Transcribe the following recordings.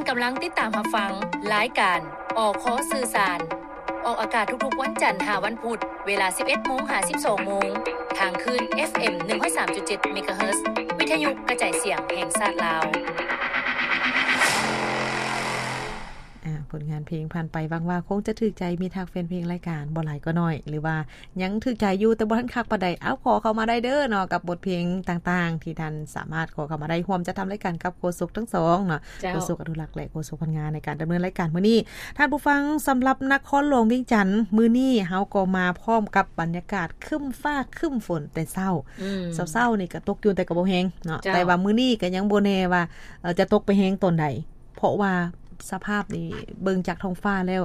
ກຳລັງຕິດຕາມຮັບຟັງລາຍການ ອຄ ສື່ສານ ອອກອາກາດທຸກໆວັນຈັນຫາວັນພຸດ ເວລາສິບເອັດໂມງຫາສິບສອງໂມງ ທາງຄື້ນ ເອັຟເອັມ ໜຶ່ງຮ້ອຍສາມຈຸດເຈັດ ເມກາເຮີດ ວິທະຍຸກະຈາຍສຽງແຫ່ງຊາດລາວ. ອາ ຜົນງານເພງຜ່ານໄປ ຫວັງວ່າຄົງຈະຖືກໃຈມິດຮັກແຟນເພງລາຍການ ບໍ່ຫຼາຍກໍໜ້ອຍ ຫຼືວ່າຍັງຖືກໃຈຢູ່ແຕ່ບໍ່ທັນຄັກປານໃດ ເອົາ ຂໍເຂົ້າມາໄດ້ເດີເນາະ ກັບບົດເພງຕ່າງໆ ທີ່ທ່ານສາມາດຂໍເຂົ້າມາໄດ້ ຮ່ວມຈັດທຳລາຍການກັບໂຄສົກທັງສອງເນາະ ເຈົ້າ ໂຄສົກອະນຸລັກ ແລະ ໂຄສົກພັນງາ ໃນການດຳເນີນລາຍການມື້ນີ້. ທ່ານຜູ້ຟັງ, ສຳລັບນະຄອນຫຼວງວຽງຈັນ ມື້ນີ້ເຮົາກໍມາພ້ອມກັບບັນຍາກາດຄຶ້ມຟ້າຄຶ້ມຝົນແຕ່ເຊົ້າ. ອືມ ເຊົ້າໆນີ້ກໍຕົກຢູ່ ແຕ່ກໍບໍ່ແຮງເນາະ ເຈົ້າ ແຕ່ວ່າມື້ນີ້ກໍຍັງບໍ່ແນ່ວ່າ ເອີ ຈະຕົກໄປແຮງຕອນໃດ ເພາະວ່າສະພາບນີ້ເບິ່ງຈາກທ້ອງຟ້າແລ້ວ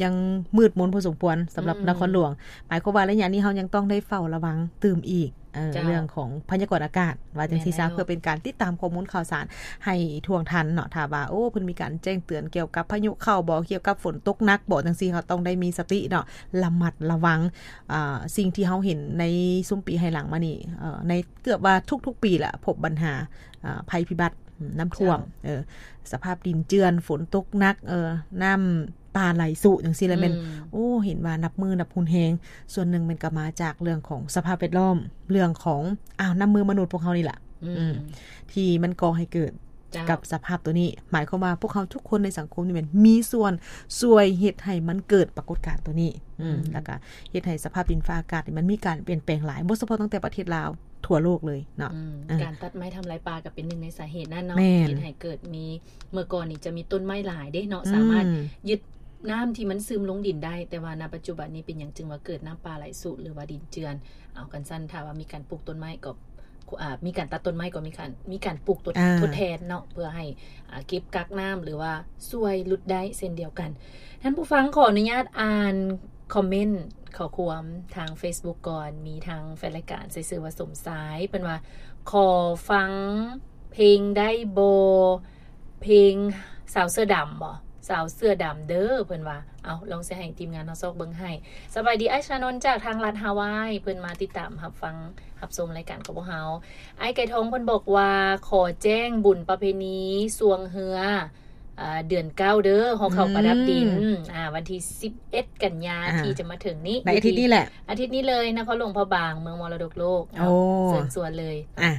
ຍັງມືດມົນພໍສົມຄວນສຳລັບ ອືມ ນະຄອນຫຼວງ. ໝາຍຄວາມວ່າໄລຍະນີ້ເຮົາຍັງຕ້ອງໄດ້ເຝົ້າລະວັງຕື່ມອີກ ເອີ ເຈົ້າ ເລື່ອງຂອງພະຍາກອນອາກາດ ວ່າຈັ່ງຊີ້ຊະ ແມ່ນແລ້ວ ເພື່ອເປັນການຕິດຕາມຂໍ້ມູນຂ່າວສານໃຫ້ທົ່ວງທັນເນາະ. ຖ້າວ່າ ໂອ້ ເພິ່ນມີການແຈ້ງເຕືອນກ່ຽວກັບພາຍຸເຂົ້າບໍ ກ່ຽວກັບຝົນຕົກໜັກບໍ ຈັ່ງຊີ້ ເຮົາຕ້ອງໄດ້ມີສະຕິເນາະ ລະມັດລະວັງ. ອາ ສິ່ງທີ່ເຮົາເຫັນໃນຊຸມປີໃຫ້ຫຼັງມານີ້ ເອີ ໃນເກືອບວ່າທຸກໆປີລະ ພົບບັນຫາ ອາ ໄພພິບັດ ອືມ ນ້ຳຖ້ວມ ເຈົ້າ ເອີ ສະພາບດິນເຈື່ອນ ຝົນຕົກໜັກ ເອີ ນ້ຳປ່າໄຫຼຊຸ ຈັ່ງຊີ້ລະແມ່ນ ອືມ ໂອ້ ເຫັນວ່ານັບມື້ນັບຮຸນແຮງ. ສ່ວນໜຶ່ງແມ່ນກໍມາຈາກເລື່ອງຂອງສະພາບແວດລ້ອມ ເລື່ອງຂອງ ອ້າວ ນ້ຳມືມະນຸດພວກເຮົານີ້ລະ ອືມ ອືມ ທີ່ມັນກໍ່ໃຫ້ເກີດ ເຈົ້າ ກັບສະພາບໂຕນີ້. ໝາຍຄວາມວ່າພວກເຮົາທຸກຄົນໃນສັງຄົມນີ້ແມ່ນມີສ່ວນຊ່ວຍເຮັດໃຫ້ມັນເກີດປາກົດການໂຕນີ້ ອືມ ອືມ ແລ້ວກໍເຮັດໃຫ້ສະພາບດິນຟ້າອາກາດນີ້ມັນມີການປ່ຽນແປງຫຼາຍ ບໍ່ສະເພາະຕັ້ງແຕ່ປະເທດລາວ ທົ່ວໂລກເລີຍເນາະ ອືມ ເອີ ການຕັດໄມ້ທຳລາຍປ່າກໍເປັນໜຶ່ງໃນສາເຫດນັ້ນເນາະ ແມ່ນ ເຮັດໃຫ້ເກີດມີ ເມື່ອກ່ອນນີ້ຈະມີຕົ້ນໄມ້ຫຼາຍເດ້ເນາະ ອືມ ສາມາດຍຶດນ້ຳທີ່ມັນຊຶມລົງດິນໄດ້ ແຕ່ວ່ານະປັດຈຸບັນນີ້ເປັນຫຍັງຈຶ່ງວ່າເກີດນ້ຳປ່າໄຫຼຊຸ ຫຼືວ່າດິນເຈື່ອນ? ເອົາ ຄັນຊັ້ນ ຖ້າວ່າມີການປູກຕົ້ນໄມ້ກໍ ອາ ມີການຕັດຕົ້ນໄມ້ກໍມີການ ມີການປູກ ອາ ທົດແທນເນາະ ເພື່ອໃຫ້ ອາ ເກັບກັກນ້ຳ ຫຼືວ່າຊ່ວຍຫຼຸດໄດ້ເຊັ່ນດຽວກັນ. ທ່ານຜູ້ຟັງ ຂໍອະນຸຍາດອ່ານຄອມເມັນຂໍ້ຄວາມທາງເຟສບຸກກ່ອນ. ມີທາງແຟນລາຍການໃຊ້ຊື່ວ່າສົມຊາຍ ເພິ່ນວ່າ ຂໍຟັງເພງໄດ້ບໍ່? ເພງສາວເສື້ອດຳບໍ? ສາວເສື້ອດຳເດີ ເພິ່ນວ່າ. ເອົາ ລອງຊິໃຫ້ທີມງານເຮົາຊອກເບິ່ງໃຫ້. ສະບາຍດີ ອ້າຍຊານົນ ຈາກທາງລັດຮາວາຍ ເພິ່ນມາຕິດຕາມຮັບຟັງ ຮັບຊົມລາຍການຂອງພວກເຮົາ. ອ້າຍໄກ່ທອງເພິ່ນບອກວ່າ ຂໍແຈ້ງບຸນປະເພນີຊ່ວງເຮືອ ເດືອນເກົ້າເດີ ຫໍເຂົ້າປະດັບດິນ ອືມ ອາ ວັນທີສິບເອັດກັນຍາ ອາ ທີ່ຈະມາເຖິງນີ້ ໃນອາທິດນີ້ແຫຼະ ຢູ່ທີ່ ອາທິດນີ້ເລີຍ ນະຄອນຫຼວງພະບາງ ເມືອງມໍລະດົກໂລກ. ໂອ້ ເຊີນຊວນເລີຍ ອາ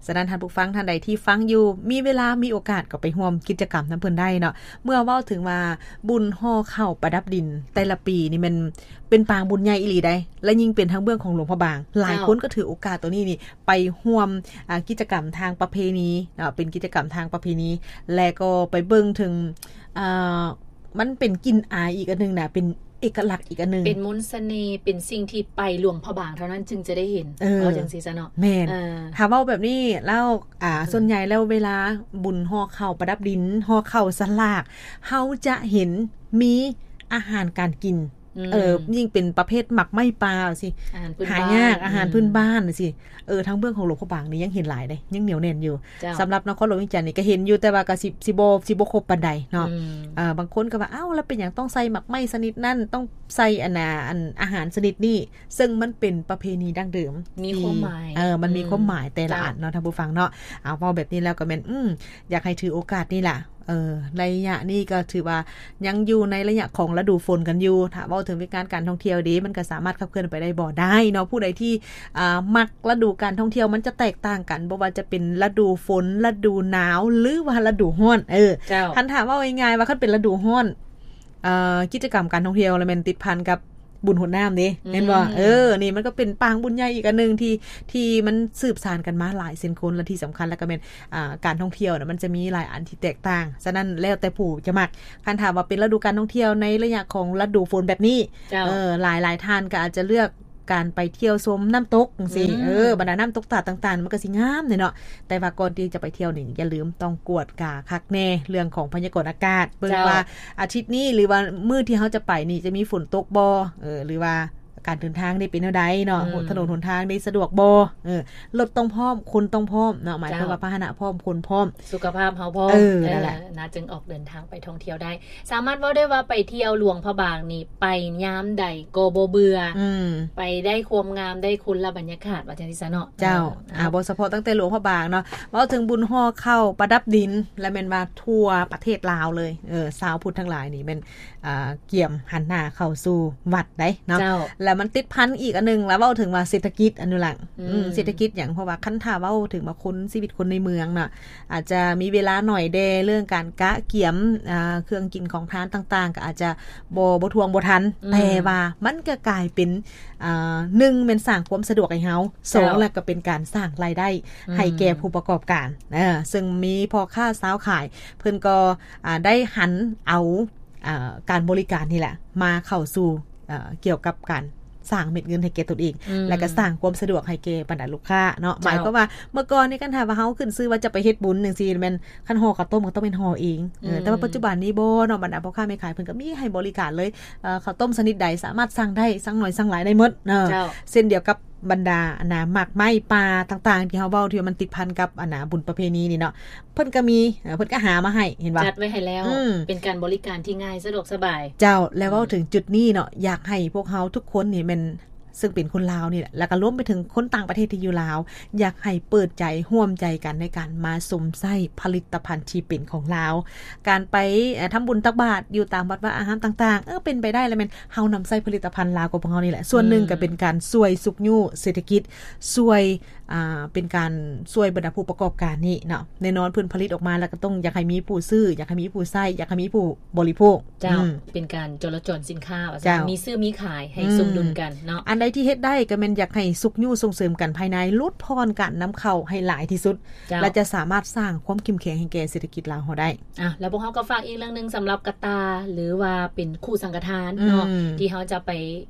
ສະນັ້ນ ທ່ານຜູ້ຟັງທ່ານໃດທີ່ຟັງຢູ່ ມີເວລາ ມີໂອກາດ ກໍໄປຮ່ວມກິດຈະກຳນຳເພິ່ນໄດ້ເນາະ. ເມື່ອເວົ້າເຖິງວ່າບຸນຫໍ່ເຂົ້າປະດັບດິນແຕ່ລະປີນີ້ແມ່ນເປັນປາງບຸນໃຫຍ່ອີ່ຫຼີໃດ໋ ແລະ ຍິ່ງເປັນທາງເບື້ອງຂອງຫຼວງພະບາງ ຫຼາຍຄົນກໍຖືໂອກາດໂຕນີ້ນີ້ ໄປຮ່ວມ ອາ ກິດຈະກຳທາງປະເພນີເນາະ ເປັນກິດຈະກຳທາງປະເພນີ ແລະ ກໍໄປເບິ່ງເຖິງ ອາ ມັນເປັນກິ່ນອາຍອີກອັນໜຶ່ງນະ ເປັນເອກະລັກອີກອັນໜຶ່ງ ເປັນມົນສະເໜ່ ເປັນສິ່ງທີ່ໄປຫຼວງພະບາງເທົ່ານັ້ນຈຶ່ງຈະໄດ້ເຫັນ ເອີ ເວົ້າຈັ່ງຊີ້ຊະເນາະ ແມ່ນ ເອີ ຖ້າເວົ້າແບບນີ້ແລ້ວ ອາ ອືມ ສ່ວນໃຫຍ່ແລ້ວເວລາບຸນຫໍ່ເຂົ້າປະດັບດິນ ຫໍ່ເຂົ້າສະຫຼາກ ເຮົາຈະເຫັນມີອາຫານການກິນ ອືມ ເອີ ຍິ່ງເປັນປະເພດໝາກໄມ້ປ່າຊີ້ ອາຫານພື້ນບ້ານ ຫາຍາກ ອາຫານ ອືມ ພື້ນບ້ານຊີ້ ເອີ ທາງເບື້ອງຂອງຫຼວງພະບາງນີ້ຍັງເຫັນຫຼາຍເດ້ ຍັງໜຽວແໜ້ນຢູ່. ເຈົ້າ ສຳລັບນະຄອນຫຼວງວຽງຈັນນີ້ກໍເຫັນຢູ່ ແຕ່ວ່າກໍຊິ ຊິບໍ່ ຊິບໍ່ຄົບປານໃດເນາະ ອືມ ເອີ ບາງຄົນກໍວ່າ ເອົ້າ ແລ້ວເປັນຫຍັງຕ້ອງໃສ່ໝາກໄມ້ຊະນິດນັ້ນ ຕ້ອງໃສ່ອັນນ່າ ອັນອາຫານຊະນິດນີ້ ເຊິ່ງມັນເປັນປະເພນີດັ້ງເດີມ ມີຄວາມໝາຍ ເອີ ມັນມີຄວາມໝາຍ ອືມ ແຕ່ລະອັນເນາະ ເຈົ້າ ທ່ານຜູ້ຟັງເນາະ. ເອົາ ເວົ້າແບບນີ້ແລ້ວກໍແມ່ນ ອືມ ຢາກໃຫ້ຖືໂອກາດນີ້ລະ ເອີ ໄລຍະນີ້ກໍຖືວ່າຍັງຢູ່ໃນໄລຍະຂອງລະດູຝົນກັນຢູ່. ຖ້າເວົ້າເຖິງວຽກງານການທ່ອງທ່ຽວເດ ມັນກໍສາມາດຂັບເຄື່ອນໄປໄດ້ບໍ່? ໄດ້ເນາະ ຜູ້ໃດທີ່ ອາ ມັກລະດູການທ່ອງທ່ຽວ ມັນຈະແຕກຕ່າງກັນ ບໍ່ວ່າຈະເປັນລະດູຝົນ ລະດູໜາວ ຫຼືວ່າລະດູຮ້ອນ ເອີ ເຈົ້າ ຄັນຖ້າເວົ້າງ່າຍໆວ່າ ຄັນເປັນລະດູຮ້ອນ ເອີ ກິດຈະກຳການທ່ອງທ່ຽວລະແມ່ນຕິດພັນກັບ ບຸນຫົດນ້ຳເດ້ ອືມ ແມ່ນບໍ່? ເອີ ນີ້ມັນກໍເປັນປາງບຸນໃຫຍ່ອີກອັນໜຶ່ງທີ່ ທີ່ມັນສືບສານກັນມາຫຼາຍເຊັ່ນຄົນ ແລະ ທີ່ສຳຄັນແລ້ວກໍແມ່ນ ອ່າ ການທ່ອງທ່ຽວນະ ມັນຈະມີຫຼາຍອັນທີ່ແຕກຕ່າງ. ສະນັ້ນແລ້ວແຕ່ຜູ້ຈະມັກ. ຄັນຖາມວ່າເປັນລະດູການທ່ອງທ່ຽວໃນໄລຍະຂອງລະດູຝົນແບບນີ້ ເຈົ້າ ເອີ ຫຼາຍໆທ່ານກໍອາດຈະເລືອກການໄປທ່ຽວຊົມນ້ຳຕົກຈັ່ງຊີ້ ອືມ ເອີ ບັນດານ້ຳຕົກຕາດຕ່າງໆ ມັນກໍຊິງາມເດເນາະ. ແຕ່ວ່າກ່ອນທີ່ຈະໄປທ່ຽວນີ້ ຢ່າລືມຕ້ອງກວດກາຄັກແນ່ເລື່ອງຂອງພະຍາກອນອາກາດ ເບິ່ງ ເຈົ້າ ວ່າອາທິດນີ້ ຫຼືວ່າມື້ທີ່ເຮົາຈະໄປນີ້ ຈະມີຝົນຕົກບໍ່ ເອີ ຫຼືວ່າ ການເດີນທາງນີ້ເປັນແນວໃດເນາະ ອືມ ຖະໜົນຫົນທາງນີ້ສະດວກບໍ່ ເອີ ລົດຕ້ອງພ້ອມ ຄົນຕ້ອງພ້ອມເນາະ ໝາຍຄວາມວ່າ ເຈົ້າ ພາຫະນະພ້ອມ ຄົນພ້ອມ ສຸຂະພາບເຮົາພ້ອມ ເອີ ເອີ ນັ້ນແຫຼະ ນະ ຈຶ່ງອອກເດີນທາງໄປທ່ອງທ່ຽວໄດ້ ສາມາດເວົ້າໄດ້ວ່າໄປທ່ຽວຫຼວງພະບາງນີ້ ໄປຍາມໃດກໍບໍ່ເບື່ອ ອືມ ໄປໄດ້ຄວາມງາມ ໄດ້ຄົນລະບັນຍາກາດ ວ່າຈັ່ງຊີ້ຊະເນາະ ເຈົ້າ ເອີ ອາ ບໍ່ສະເພາະຕັ້ງແຕ່ຫຼວງພະບາງເນາະ ເວົ້າເຖິງບຸນຫໍ່ເຂົ້າປະດັບດິນ ແລະ ແມ່ນວ່າທົ່ວປະເທດລາວເລີຍ ເອີ ຊາວພຸດທັງຫຼາຍນີ້ແມ່ນ ອ່າ ກຽມຫັນໜ້າເຂົ້າສູ່ວັດໄດ໋ເນາະ ເຈົ້າ ແລ້ວມັນຕິດພັນອີກອັນໜຶ່ງ ລະເວົ້າເຖິງວ່າເສດຖະກິດ ອະນຸລັກ ອືມ ອືມ ເສດຖະກິດຫຍັງ ເພາະວ່າຄັນຖ້າເວົ້າເຖິງວ່າຄົນ ຊີວິດຄົນໃນເມືອງນະ ອາດຈະມີເວລາໜ້ອຍແດ່ ເລື່ອງການກະກຽມ ອ່າ ເຄື່ອງກິນຂອງທານຕ່າງໆ ກໍອາດຈະບໍ່ ບໍ່ທ່ວງບໍ່ທັນ ອືມ ແຕ່ວ່າມັນກໍກາຍເປັນ ອ່າ ໜຶ່ງ ແມ່ນສ້າງຄວາມສະດວກໃຫ້ເຮົາ ເຈົ້າ ສອງ ແລ້ວກໍເປັນການສ້າງລາຍໄດ້ ອືມ ໃຫ້ແກ່ຜູ້ປະກອບການ ເອີ ເຊິ່ງມີພໍ່ຄ້າຊາວຂາຍ ເພິ່ນກໍ ອ່າ ໄດ້ຫັນເອົາ ອ່າ ການບໍລິການນີ້ແຫຼະ ມາເຂົ້າສູ່ ເອີ ກ່ຽວກັບການສ້າງເມັດເງິນໃຫ້ແກ່ຕົນເອງ ອືມ ແລ້ວກໍສ້າງຄວາມສະດວກໃຫ້ແກ່ບັນດາລູກຄ້າເນາະ ເຈົ້າ ໝາຍຄວາມວ່າເມື່ອກ່ອນນີ້ ຄັນຖ້າວ່າເຮົາຂຶ້ນຊື່ວ່າຈະໄປເຮັດບຸນຈັ່ງຊີ້ ແມ່ນຄັນຫໍ່ເຂົ້າຕົ້ມກໍຕ້ອງແມ່ນຫໍ່ເອງ ເອີ ອືມ ແຕ່ວ່າປັດຈຸບັນນີ້ບໍ່ເນາະ ບັນດາພໍ່ຄ້າແມ່ຂາຍເພິ່ນກໍມີໃຫ້ບໍລິການເລີຍ ເອີ ເຂົ້າຕົ້ມຊະນິດໃດສາມາດສັ່ງໄດ້ ສັ່ງໜ້ອຍສັ່ງຫຼາຍໄດ້ໝົດເນາະ ເຈົ້າ ເຊັ່ນດຽວກັບບັນດາ ອັນນ່າ ໝາກໄມ້ປ່າຕ່າງໆ ທີ່ເຮົາເວົ້າ ທີ່ວ່າມັນຕິດພັນກັບ ອັນນ່າ ບຸນປະເພນີນີ້ເນາະ ເພິ່ນກໍມີ ເອີ ເພິ່ນກໍຫາມາໃຫ້ ເຫັນບໍ່ ຈັດໄວ້ໃຫ້ແລ້ວ ອືມ ເປັນການບໍລິການທີ່ງ່າຍ ສະດວກສະບາຍ ເຈົ້າ ແລ້ວເວົ້າເຖິງຈຸດນີ້ເນາະ ອືມ ຢາກໃຫ້ພວກເຮົາທຸກຄົນນີ້ແມ່ນ ເຊິ່ງເປັນຄົນລາວນີ້ແຫຼະ ແລ້ວກໍລວມໄປເຖິງຄົນຕ່າງປະເທດທີ່ຢູ່ລາວ ຢາກໃຫ້ເປີດໃຈຮ່ວມໃຈກັນໃນການມາຊົມໃຊ້ຜະລິດຕະພັນທີ່ເປັນຂອງລາວ ການໄປ ເອີ ທຳບຸນຕັກບາດຢູ່ຕາມວັດວາອາຮາມຕ່າງໆ ເອີ ເປັນໄປໄດ້ແລ້ວແມ່ນເຮົານຳໃຊ້ຜະລິດຕະພັນລາວຂອງພວກເຮົານີ້ແຫຼະ ສ່ວນໜຶ່ງ ອືມ ກໍເປັນການຊ່ວຍຊຸກຍູ້ເສດຖະກິດ ຊ່ວຍ ອ່າ ເປັນການຊ່ວຍບັນດາຜູ້ປະກອບການນີ້ເນາະ ແນ່ນອນເພິ່ນຜະລິດອອກມາແລ້ວກໍຕ້ອງຢາກໃຫ້ມີຜູ້ຊື້ ຢາກໃຫ້ມີຜູ້ໃຊ້ ຢາກໃຫ້ມີຜູ້ບໍລິໂພກ ເຈົ້າ ອືມ ເປັນການຈໍລະຈອນສິນຄ້າວ່າຊັ້ນ ເຈົ້າ ມີຊື້ມີຂາຍໃຫ້ ອືມ ສົມດຸນກັນເນາະ ອັນໃດທີ່ເຮັດໄດ້ກໍແມ່ນຢາກໃຫ້ຊຸກຍູ້ສົ່ງເສີມກັນພາຍໃນ ຫຼຸດຜ່ອນການນຳເຂົ້າໃຫ້ຫຼາຍທີ່ສຸດ ເຈົ້າ ແລະ ຈະສາມາດສ້າງຄວາມເຂັ້ມແຂງໃຫ້ແກ່ເສດຖະກິດລາວເຮົາໄດ້ ອ່ະ ແລ້ວພວກເຮົາກໍຝາກອີກເລື່ອງໜຶ່ງ ສຳລັບກະຕ່າ ຫຼືວ່າເປັນຄູ່ສັງກະທານເນາະ ອືມ ທີ່ເຮົາຈະໄປ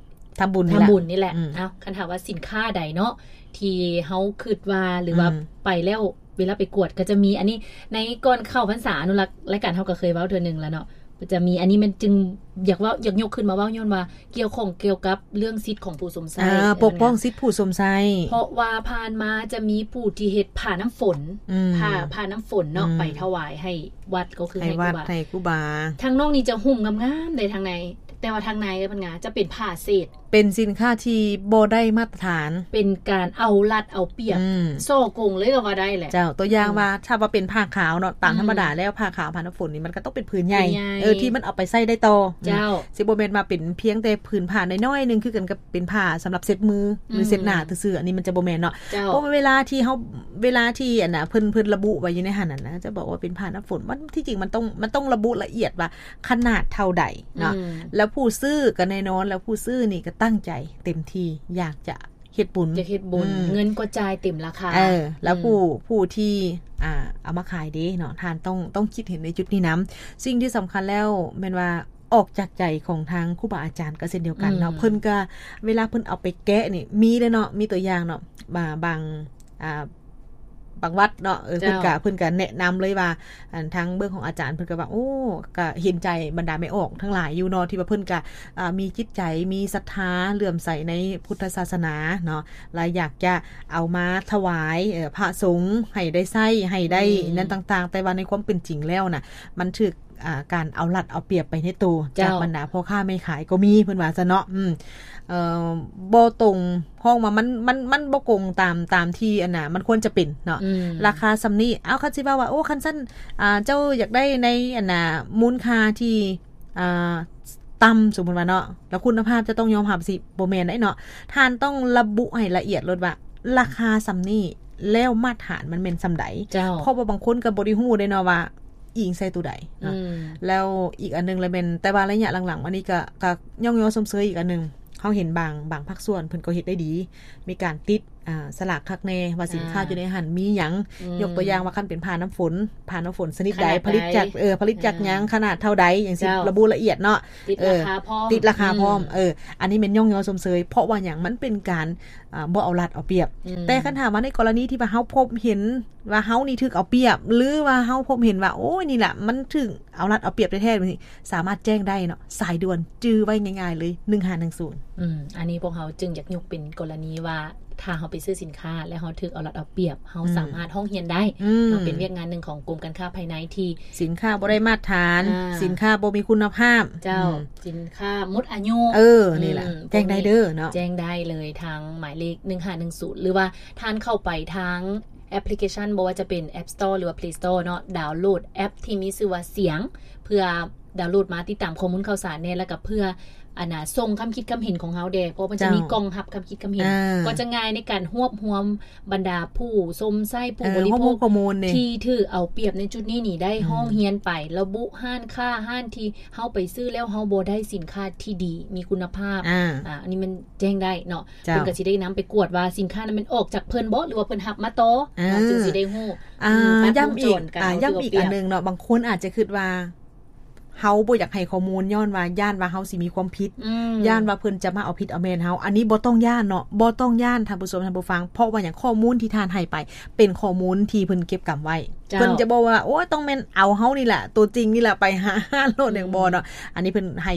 ທຳບຸນນີ້ແຫຼະ ທຳບຸນນີ້ແຫຼະ ອືມ ເອົ້າ ຄັນຖາມວ່າສິນຄ້າໃດເນາະ ທີ່ເຮົາຄິດວ່າ ຫຼືວ່າ ອືມ ໄປແລ້ວ ເວລາໄປກວດກໍຈະມີ ອັນນີ້ ໃນກ່ອນເຂົ້າພັນສາອະນຸລັກ ລາຍການເຮົາກໍເຄີຍເວົ້າເທື່ອໜຶ່ງແລ້ວເນາະ ຈະມີ ອັນນີ້ແມ່ນຈຶ່ງຢາກເວົ້າ ຢາກຍົກຂຶ້ນມາເວົ້າ ຍ້ອນວ່າກ່ຽວຂ້ອງກ່ຽວກັບເລື່ອງສິດຂອງຜູ້ຊົມໃຊ້ ອ່າ ປົກປ້ອງສິດຜູ້ຊົມໃຊ້ ເພາະວ່າຜ່ານມາຈະມີຜູ້ທີ່ເຮັດຜ້ານ້ຳຝົນ ອືມ ຜ້າ ຜ້ານ້ຳຝົນເນາະ ອືມ ໄປຖວາຍໃຫ້ ວັດກໍຄືໃຫ້ ໃຫ້ວັດ ຄູບາ ໃຫ້ຄູບາ ທາງນອກນີ້ຈະຫຸ້ມງາມໆເດ້ທາງໃນ ແຕ່ວ່າທາງໃນເພິ່ນງາ ຈະເປັນຜ້າເສດ ເປັນສິນຄ້າທີ່ບໍ່ໄດ້ມາດຕະຖານ ເປັນການເອົາລັດເອົາປຽບ ອືມ ສໍ້ໂກງເລີຍກໍວ່າໄດ້ແຫຼະ ເຈົ້າ ຕົວຢ່າງ ອືມ ວ່າ ຖ້າວ່າເປັນຜ້າຂາວເນາະ ຕາມ ອືມ ທຳມະດາແລ້ວຜ້າຂາວ ຜ້ານ້ຳຝົນນີ້ ມັນກໍຕ້ອງເປັນຜືນໃຫຍ່ ຜືນໃຫຍ່ ເອີ ທີ່ມັນເອົາໄປໃຊ້ໄດ້ຕໍ່ ເຈົ້າ ອືມ ຊິບໍ່ແມ່ນວ່າເປັນພຽງແຕ່ຜືນຜ້ານ້ອຍໆໜຶ່ງ ຄືກັນກັບເປັນຜ້າສຳລັບເຊັດມື ອືມ ຫຼືເຊັດໜ້າຊື່ໆ ອັນນີ້ມັນຈະບໍ່ແມ່ນເນາະ ເຈົ້າ ເພາະວ່າເວລາທີ່ເຮົາ ເວລາທີ່ ອັນນ່າ ເພິ່ນ ເພິ່ນລະບຸໄວ້ຢູ່ໃນຫັ້ນນະ ຈະບອກວ່າເປັນຜ້ານ້ຳຝົນ ມັນ ທີ່ຈິງມັນຕ້ອງ ມັນຕ້ອງລະບຸລະອຽດວ່າຂະໜາດເທົ່າໃດເນາະ ອືມ ແລ້ວຜູ້ຊື້ກໍແນ່ນອນ ແລ້ວຜູ້ຊື້ນີ້ກໍຕັ້ງໃຈເຕັມທີ່ ຢາກຈະເຮັດບຸນ ຢາກເຮັດບຸນ ອືມ ເງິນກໍຈ່າຍເຕັມລາຄາ ເອີ ແລ້ວ ອືມ ຜູ້ ຜູ້ທີ່ ອ່າ ເອົາມາຂາຍເດ້ເນາະ ທ່ານຕ້ອງ ຕ້ອງຄິດເຫັນໃນຈຸດນີ້ນຳ ສິ່ງທີ່ສຳຄັນແລ້ວແມ່ນວ່າ ອອກຈາກໃຈຂອງທາງຄູບາອາຈານກໍເຊັ່ນດຽວກັນເນາະ ອືມ ເພິ່ນກໍ ເວລາເພິ່ນເອົາໄປແກະນີ້ ມີເດ້ເນາະ ມີຕົວຢ່າງເນາະ ບາ ບາງ ອ່າ ບາງວັດເນາະ ເອີ ເຈົ້າ ເພິ່ນກະ ເພິ່ນກະແນະນຳເລີຍວ່າ ອັນ ທາງເບື້ອງຂອງອາຈານເພິ່ນກະວ່າ ໂອ້ ກະເຫັນໃຈບັນດາແມ່ອອກທັງຫຼາຍຢູ່ເນາະ ທີ່ວ່າເພິ່ນກະ ອ່າ ມີຈິດໃຈ ມີສັດທາ ເຫຼື້ອມໃສໃນພຸດທະສາສະໜາເນາະ ແລະ ຢາກຈະເອົາມາຖວາຍ ເອີ ພະສົງໃຫ້ໄດ້ໃຊ້ ໃຫ້ໄດ້ ອືມ ນັ້ນຕ່າງໆ ແຕ່ວ່າໃນຄວາມເປັນຈິງແລ້ວນະ ມັນຖືກ ອ່າ ການເອົາລັດເອົາປຽບໄປໃນໂຕ ເຈົ້າ ຈາກບັນດາພໍ່ຄ້າແມ່ຂາຍກໍມີ ເພິ່ນວ່າຊັ້ນເນາະ ອືມ ເອີ ບໍ່ຕົງ ຮ້ອງວ່າມັນ ມັນ ມັນບໍ່ກົງຕາມ ຕາມທີ່ ອັນນ່າ ມັນຄວນຈະເປັນເນາະ ອືມ ລາຄາສ່ຳນີ້ ເອົາ ຄັນຊິເວົ້າວ່າ ໂອ້ ຄັນຊັ້ນ ອ່າ ເຈົ້າຢາກໄດ້ໃນ ອັນນ່າ ມູນຄ່າທີ່ ອ່າ ຕ່ຳ ສົມມຸດວ່າເນາະ ແລ້ວຄຸນນະພາບຈະຕ້ອງຍອມຮັບ ຊິບໍ່ແມ່ນໄດ໋ເນາະ ທ່ານຕ້ອງລະບຸໃຫ້ລະອຽດໂລດວ່າ ລາຄາສ່ຳນີ້ ແລ້ວມາດຕະຖານມັນແມ່ນສ່ຳໃດ ເຈົ້າ ເພາະວ່າບາງຄົນກໍບໍ່ໄດ້ຮູ້ເດ້ເນາະວ່າ ອີງໃສ່ໂຕໃດເນາະ ອືມ ແລ້ວອີກອັນໜຶ່ງລະແມ່ນ ແຕ່ວ່າໄລຍະຫຼັງໆມານີ້ກໍ ກໍຍ້ອງຍໍຊົມເຊີຍອີກອັນໜຶ່ງ ເຮົາເຫັນບາງ ບາງພາກສ່ວນເພິ່ນກໍເຮັດໄດ້ດີ ມີການຕິດ ອ່າ ສະຫຼາກຄັກແນ່ວ່າສິນຄ້າ ອ່າ ຢູ່ໃນຫັ້ນມີຫຍັງ ອືມ ຍົກຕົວຢ່າງວ່າ ຄັນເປັນຜ້ານ້ຳຝົນ ຜ້ານ້ຳຝົນຊະນິດໃດ ຂະໜາດໃດ ຜະລິດຈາກ ເອີ ຜະລິດຈາກຫຍັງ ອ່າ ຂະໜາດເທົ່າໃດ ຈັ່ງຊີ້ ເຈົ້າ ລະບຸລະອຽດເນາະ ຕິດ ເອີ ລາຄາພ້ອມ ຕິດລາຄາພ້ອມ ອືມ ເອີ ອັນນີ້ແມ່ນຍ້ອງຍໍຊົມເຊີຍ ເພາະວ່າຫຍັງ ມັນເປັນການ ອ່າ ບໍ່ເອົາລັດເອົາປຽບ ອືມ ແຕ່ຄັນຖ້າວ່າໃນກໍລະນີທີ່ວ່າເຮົາພົບເຫັນ ວ່າເຮົານີ້ຖືກເອົາປຽບ ຫຼືວ່າເຮົາພົບເຫັນວ່າ ໂອ້ຍ ນີ້ລະມັນຖືກເອົາລັດເອົາປຽບແທ້ໆ ແບບນີ້ ສາມາດແຈ້ງໄດ້ເນາະ ສາຍດ່ວນຈື່ໄວ້ງ່າຍໆເລີຍ ໜຶ່ງຫ້າໜຶ່ງສູນ. ອືມ ອັນນີ້ພວກເຮົາຈຶ່ງຢາກຍົກເປັນກໍລະນີວ່າ ຖ້າເຮົາໄປຊື້ສິນຄ້າ ແລ້ວເຮົາຖືກເອົາລັດເອົາປຽບ ເຮົາ ອືມ ສາມາດຮ້ອງຮຽນໄດ້ ອືມ ເນາະ ເປັນວຽກງານໜຶ່ງຂອງກົມການຄ້າພາຍໃນທີ່ ສິນຄ້າບໍ່ໄດ້ມາດຖານ ອ່າ ສິນຄ້າບໍ່ມີຄຸນນະພາບ ເຈົ້າ ອືມ ສິນຄ້າໝົດອາຍຸ ເອີ ນີ້ລະ ອືມ ແຈ້ງໄດ້ເດີເນາະ ແຈ້ງໄດ້ເລີຍທາງໝາຍເລກ ໜຶ່ງຫ້າໜຶ່ງສູນ ຫຼືວ່າທ່ານເຂົ້າໄປທາງ ແອັບພລິເຄຊັນ ບໍ່ວ່າຈະເປັນ App Store ຫຼືວ່າ Play Store ເນາະ ດາວໂຫຼດແອັບທີ່ມີຊື່ວ່າສຽງ ເພື່ອດາວໂຫຼດມາຕິດຕາມຂໍ້ມູນຂ່າວສານແດ່ ແລ້ວກໍເພື່ອ ອັນນ່າ ສົ່ງຄຳຄິດຄຳເຫັນຂອງເຮົາແດ່ ເພາະມັນຈະມີ ເຈົ້າ ກ່ອງຮັບຄຳຄິດຄຳເຫັນ ອ່າ ກໍຈະງ່າຍໃນການຮວບຮວມບັນດາຜູ້ຊົມໃຊ້ ຜູ້ ເອີ ບໍລິໂພກ ຮວບຮວມຂໍ້ມູນນີ້ ທີ່ຖືກເອົາປຽບໃນຈຸດນີ້ນີ້ ໄດ້ ອືມ ຮ້ອງຮຽນໄປ ລະບຸຮ້ານຄ້າ ຮ້ານທີ່ເຮົາໄປຊື້ແລ້ວເຮົາບໍ່ໄດ້ສິນຄ້າທີ່ດີ ມີຄຸນນະພາບ ອ່າ ອ່າ ອັນນີ້ມັນແຈ້ງໄດ້ເນາະ ເຈົ້າ ເພິ່ນກໍຊິໄດ້ນຳໄປກວດວ່າສິນຄ້ານັ້ນແມ່ນອອກຈາກເພິ່ນບໍ່ ຫຼືວ່າເພິ່ນຮັບມາຕໍ່ ອ່າ ເນາະ ຈຶ່ງຊິໄດ້ຮູ້ ອ່າ ອືມ ຕັດວົງຈອນການ ຢ້ຳອີກ ອ່າ ຢ້ຳອີກອັນໜຶ່ງເນາະ ບາງຄົນອາດຈະຄິດວ່າ ເຮົາບໍ່ຢາກໃຫ້ຂໍ້ມູນ ຍ້ອນວ່າຢ້ານວ່າເຮົາຊິມີຄວາມຜິດ ອືມ ຢ້ານວ່າເພິ່ນຈະມາເອົາຜິດເອົາແມ່ນເຮົາ ອັນນີ້ບໍ່ຕ້ອງຢ້ານເນາະ ບໍ່ຕ້ອງຢ້ານທ່ານຜູ້ຊົມ ທ່ານຜູ້ຟັງ ເພາະວ່າຫຍັງ ຂໍ້ມູນທີ່ທ່ານໃຫ້ໄປ ເປັນຂໍ້ມູນທີ່ເພິ່ນເກັບກຳໄວ້ ເຈົ້າ ເພິ່ນຈະບໍ່ວ່າ ໂອ້ຍ ຕ້ອງແມ່ນເອົາເຮົານີ້ແຫຼະ ໂຕຈິງນີ້ແຫຼະ ໄປຫາໂລດ ອືມ ຫຍັງບໍ່ເນາະ ອັນນີ້ເພິ່ນໃຫ້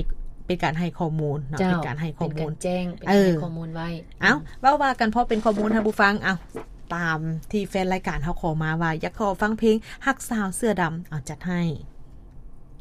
ເປັນການໃຫ້ຂໍ້ມູນເນາະ ເຈົ້າ ເປັນການໃຫ້ຂໍ້ມູນ ເປັນການແຈ້ງ ເປັນການໃຫ້ ເອີ ຂໍ້ມູນໄວ້ ເອົ້າ ເວົ້າວ່າກັນພໍເປັນຂໍ້ມູນ ທ່ານຜູ້ຟັງ ເອົ້າ ຕາມທີ່ແຟນລາຍການເຮົາຂໍມາວ່າ ຢາກຂໍຟັງເພງຮັກສາວເສື້ອດຳ ເອົາ ຈັດໃຫ້.